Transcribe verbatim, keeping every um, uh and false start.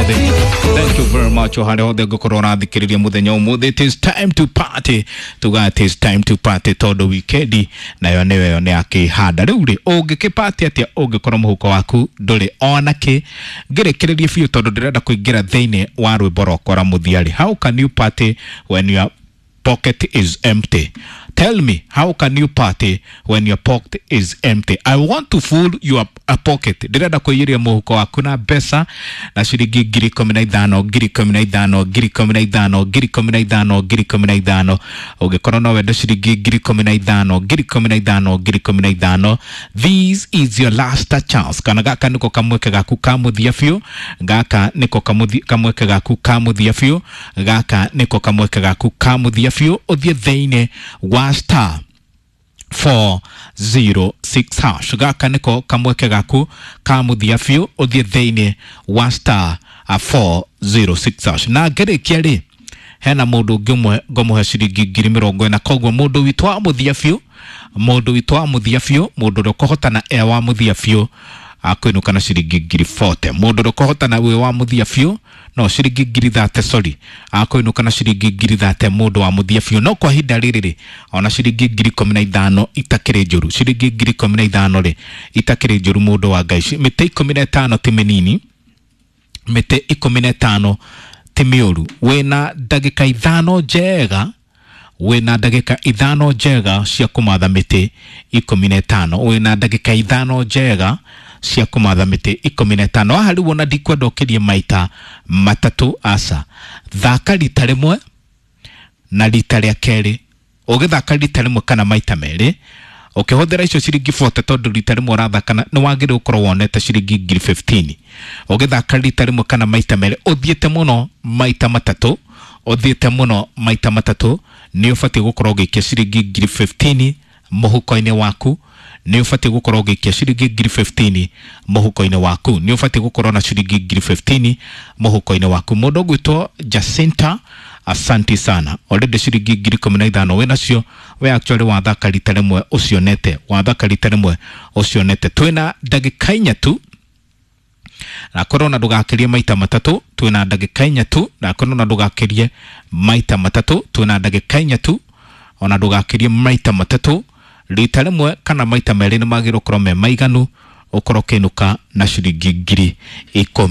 Ũmũthĩ. Thank you very much o harĩa hothe ngũkorwo ũrathikĩrĩria mũthenya ũmũthĩ. It is time to party, tuga it is time to party tondũ wikendi nayo nĩyo ĩyo nĩ akĩhanda. Rĩu rĩ, ũngĩkĩparty atĩa ũngĩkorwo mũhuko waku ndũrĩ ona kĩ? Ngĩrĩkĩrĩrie biũ tondũ ndĩrenda kũingĩra thĩinĩ wa rwĩmbo rwakwa rwa mũthia rĩ, how can you party when your pocket is empty? Tell me, how can you party when your pocket is empty? I want to fill your a pocket. Ndĩrenda kũiyũria mũhuko waku na mbeca na ciringi ngiri ikũmi na ithano, ngiri ikũmi na ithano, ngiri ikũmi na ithano, ngiri ikũmi na ithano, ngiri ikũmi na ithano. Ũngĩkorwo no wende ciringi ngiri ikũmi na ithano, ngiri ikũmi na ithano, ngiri ikũmi na ithano, this is your last chance. Kana gaka nĩko kamweke gaku ka mũthia biũ, gaka nĩko kamũthi- kamweke gaku ka mũthia biũ, gaka nĩko kamweke gaku ka mũthia biũ. Ũthiĩ thĩinĩ wa star four zero six hash. Gaka nĩko kamweke gaku ka mũthia biũ, ũthiĩ thĩinĩ wa star four zero six hash. Na ngĩrĩkia rĩ, hena mũndũ ũngĩ ũmwe ngũmũhe ciringi ngiri mĩrongo ĩna. Koguo mũndũ witũ wa mũthia biũ, mũndũ witũ wa mũthia biũ, mũndũ ũrĩa ũkũhotana e wa mũthia biũ akũinũka na ciringi ngiri mĩrongo ĩna. Mũndũ ũrĩa ũkũhotana wĩ wa mũthia biũ, no ciringi ngiri thate, sorry, akũinũka na ciringi ngiri thate mũndũ wa mũthia biũ. No kwa ihinda rĩrĩ rĩ, ona ciringi ngiri ikũmi na ithano itakĩrĩ njũru, ciringi ngiri ikũmi na ithano rĩ itakĩrĩ njũru, mũndũ wa Ngai. Mĩtĩ ikũmi na ĩtano ti mĩnini, mĩtĩ ikũmi na ĩtano ti mĩũru. Wĩna ndagĩka ithano njega, wĩna ndagĩka ithano njega cia kũmatha mĩtĩ ikũmi na ĩtano, wĩna ndagĩka ithano njega cia kũmatha mĩtĩ ikũmi na ĩtano. Haha rĩu ona ndikwenda ũkĩrie maita matatũ, aca. Thaka rita rĩmwe na rita rĩa kerĩ. Ũgĩthaka rita rĩmwe kana maita merĩ ũkĩhũthĩra icio ciringi mĩrongo ĩna, tondũ rita rĩmwe ũrathaka na- nĩ wagĩrĩirwo gũkorwo wonete ciringi ngiri ikũmi na ithano. Ũgĩthaka rita rĩmwe kana maita merĩ, ũthiĩte mũno maita matatũ, ũthiĩte mũno maita matatũ, nĩ ũbatiĩ gũkorwo ũgĩikia ciringi ngiri ikũmi na ithano mũhuko-inĩ waku. Nĩ ũbatiĩ gũkorwo ũgĩikia ciringi ngiri ikũmi na ithano mũhuko-inĩ waku. Nĩ ũbatiĩ gũkorwo na ciringi ngiri ikũmi na ithano mũhuko-inĩ waku. Mũndũ ũgwĩtwo Jacinta, asanti sana, already ciringi ngiri ikũmi na ithano wĩ nacio. We actually wathaka rita rĩmwe ũcionete, wathaka rita rĩmwe ũcionete. Twĩna ndagĩka inya tu, na korwo na ndũgakĩrie maita matatũ. Twĩna ndagĩka inya tu, na korwo na ndũgakĩrie maita matatũ. Twĩna ndagĩka inya tu, ona ndũgakĩrie maita matatũ. Rita rĩmwe kana maita merĩ nĩ magĩrĩirwo gũkorwo me maiganu ũkorwo ũkĩinũka na ciringi ngiri ikũmi.